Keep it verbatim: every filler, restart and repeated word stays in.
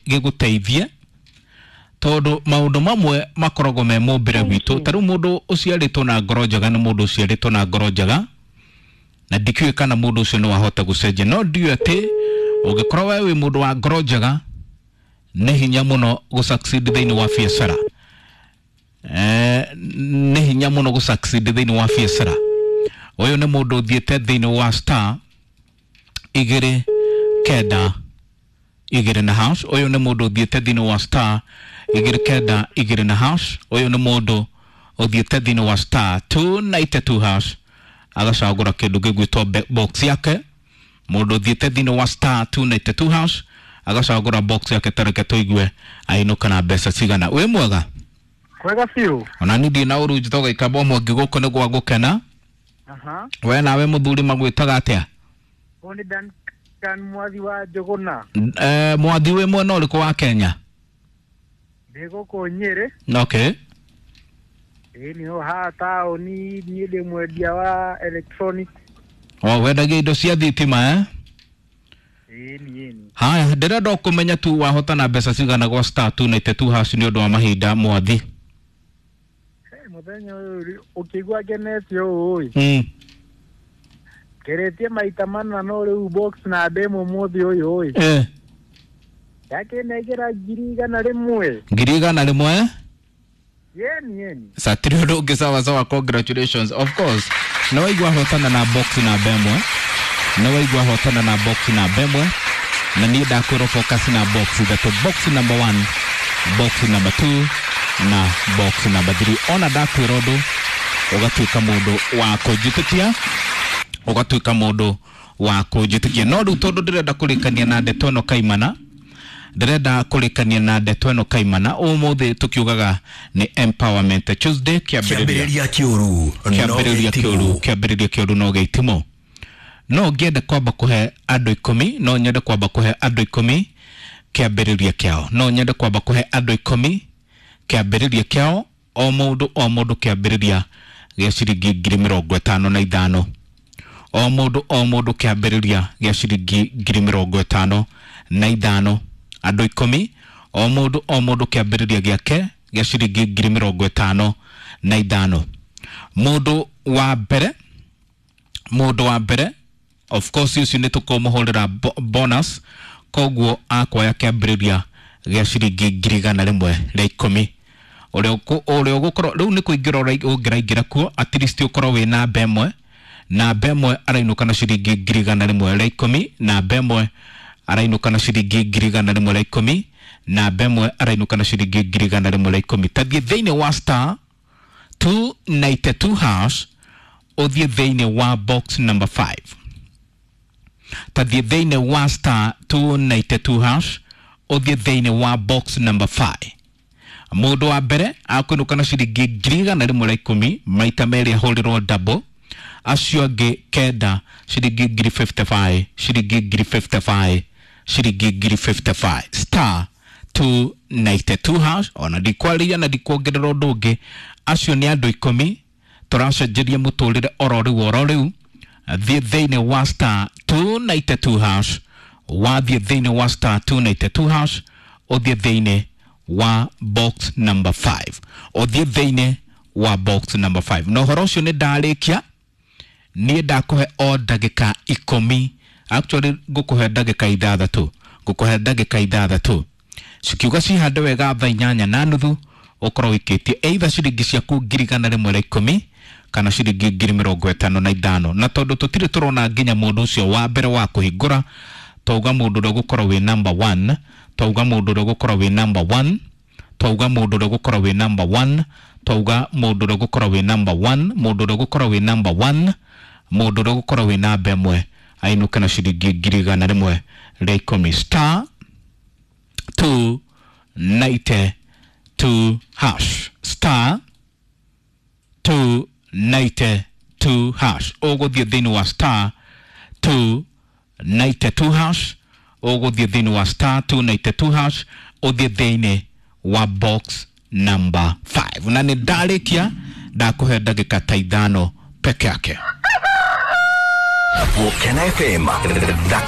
Gĩgũteithie tondũ maũndũ mamwe makoragwo me mũmbĩre witũ. Ta rĩu mũndũ ũciarĩtwo na ngoro njega nĩ mũndũ ũciarĩtwo na ngoro njega, na ndikĩũĩ kana mũndũ ũcio no ahote gũcenjia, no ndiũĩ atĩ ũngĩkorwo we wĩ mũndũ wa ngoro njega nĩ hinya mũno gũ succeed thĩinĩ wa biacara. Eh, nĩ hinya mũno gũ succeed thĩinĩ wa biacara. Ũyũ nĩ mũndũ ũthiĩte thĩinĩ wa star igĩrĩ kenda igĩrĩ na hash. Ũyũ nĩ mũndũ ũthiĩte thĩinĩ wa star igĩrĩ kenda igĩrĩ na hash. Ũyũ nĩ mũndũ ũthiĩte thĩinĩ wa star two ninety two hash, agacagũra kĩndũ gĩgwĩtwo box yake. Mũndũ ũthiĩte thĩinĩ wa star two ninety two hash agacagũra box yake. Tareke tũigue ainũka na mbeca cigana. Wĩ mwega? Kwega biũ. Ona niĩ ndirĩ na ũru, njĩtagwo Gĩkamba Mwangi, gũkũ nĩ gwa gũkena. Aha. We nawe mũthuri magwĩtaga atĩa? Ũyũ nĩ Duncan Mwathi wa Njũgũna. Eh, Mwathi, wĩ mwena ũrĩkũ wa Kenya? Ndĩ gũkũ Nyĩrĩ. Okay. Ĩĩ, nĩho haha taũni, niĩ ndĩ mwendia wa electronic. O wendagia indo cia thitima, eh? Ĩni, ĩni. Haya, ndĩrenda o kũmenya tu wahotana mbeca cigana gwa star two ninety two hash nĩ ũndũ wa mahinda, Mwathi. Hey, mũthenya ũyũ rĩ, ũkĩigua ngenete ũũ ĩ. Mm. Ngeretie maita mana, no rĩu box na ndĩmwe mũthĩ ũyũ ĩ. Eh. Yakĩnengera ngiri igana rĩmwe. Ngiri igana rĩmwe? Yeni, yeni. Satiri ũndũ ũngĩ. Sawa sawa, congratulations. Of course nĩ waigua hotana na box namba ĩmwe, nĩ waigua hotana na box namba ĩmwe, na niĩ ndakwĩrwo focus na box ithatũ: box number one, box number two na box number three. Ona ndakwĩra ũndũ ũgatuĩka mũndũ wa kũnjĩtĩkia, ũgatuĩka mũndũ wa kũnjĩtĩkia. No rĩu tondũ ndĩrenda kũrĩkania na ndeto ĩno kaimana, ndĩrenda kũrĩkania na ndeto ĩno kaimana, ũmũthĩ tũkiugaga nĩ Empowerment Tuesday, kĩambĩrĩria Kĩambĩrĩria kĩũru no kĩambĩrĩria kĩũru gĩtimũ. Kĩambĩrĩria kĩũru no gĩitimũ. No ngĩende kwamba kũhe andũ ikũmi, no nyende kwamba kũhe andũ ikũmi kĩambĩrĩria kĩao, no nyende kwamba kũhe andũ ikũmi kĩambĩrĩria kĩao, o mũndũ o mũndũ kĩambĩrĩria gĩa ciringi ngiri mĩrongo ĩtano na ithano, o mũndũ o mũndũ kĩambĩrĩria gĩa ciringi ngiri mĩrongo ĩtano na ithano. Andũ ikũmi, o mũndũ o mũndũ kĩambĩrĩria gĩake gĩa ciringi ngiri mĩrongo ĩtano na ithano. Mũndũ wa mbere, mũndũ wa mbere, of course ũcio nĩ tũkũmũhũrĩra bo- bonus, koguo akoya kĩambĩrĩria gĩa ciringi ngiri igana rĩmwe rĩa ikũmi. Ũrĩa ũkũ- ũrĩa ũgũkorwo rĩu nĩ kũingĩra ũra- ũngĩraingĩra kuo, at least ũkorwo wĩ namba ĩmwe. Namba ĩmwe arainũka na ciringi ngiri igana rĩmwe rĩa ikũmi. Namba ĩmwe arainũka na ciringi ngiri igana rĩmwe rĩa ikũmi. Namba ĩmwe arainũka na ciringi ngiri igana rĩmwe rĩa ikũmi. Tathiĩ thĩinĩ wa star two ninety-two hash, ũthiĩ thĩinĩ wa box number five. Tathiĩ thĩinĩ wa star two ninety-two hash, ũthiĩ thĩinĩ wa box number five. Mũndũ wa mbere akũinũka na ciringi ngiri igana rĩmwe rĩa ikũmi, maita merĩ ahũrĩrwo double. Acio angĩ kenda ciringi ngiri mĩrongo ĩtano na ithano, ciringi ngiri mĩrongo ĩtano na ithano, ciringi ngiri mĩrongo ĩtano na ithano. Star two ninety-two hash. Ona ndikwarĩria na ndikuongerera ũndũ ũngĩ. Acio nĩ andũ ikũmi tũracenjeria mũtũrĩre oro rĩu, oro rĩu. Thiĩ thĩinĩ wa star two ninety-two hash. Wathiĩ thĩinĩ wa star two ninety-two hash, ũthiĩ thĩinĩ wa box number five, ũthiĩ thĩinĩ wa box number five. Na ũhoro ũcio nĩ ndarĩkia, niĩ ndakũhe o ndagĩka ikũmi. Actually ngũkũhe ndagĩka ithathatũ, ngũkũhe ndagĩka ithathatũ cikiuga cihande wega thaa inyanya na nuthu, ũkorwo wĩkĩtie either ciringi ciaku ngiri igana rĩmwe rĩa ikũmi kana ciringi ngiri mĩrongo ĩtano na ithano. Na tondũ tũtirĩ tũrona nginya mũndũ ũcio wa mbere wa kũhingũra, twauga mũndũ ũrĩa ũgũkorwo wĩ number one, twauga mũndũ ũrĩa ũgũkorwo wĩ number one, twauga mũndũ ũrĩa ũgũkorwo wĩ number one, twauga mũndũ ũrĩa ũgũkorwo wĩ number one, mũndũ ũrĩa ũgũkorwo wĩ number one, mũndũ ũrĩa ũgũkorwo wĩ namba ĩmwe ainũke na ciringi ngiri igana rĩmwe rĩa ikũmi. Star two ninety-two hash, star two ninety-two hash. Ũgũthiĩ thĩinĩ wa star two ninety-two hash, ũgũthiĩ thĩinĩ wa star two ninety-two hash, ũthiĩ thĩinĩ wa box number five. Na nĩ ndarĩkia, ndakũhe ndagĩka ta ithano peke yake. Gũkena F M thaka.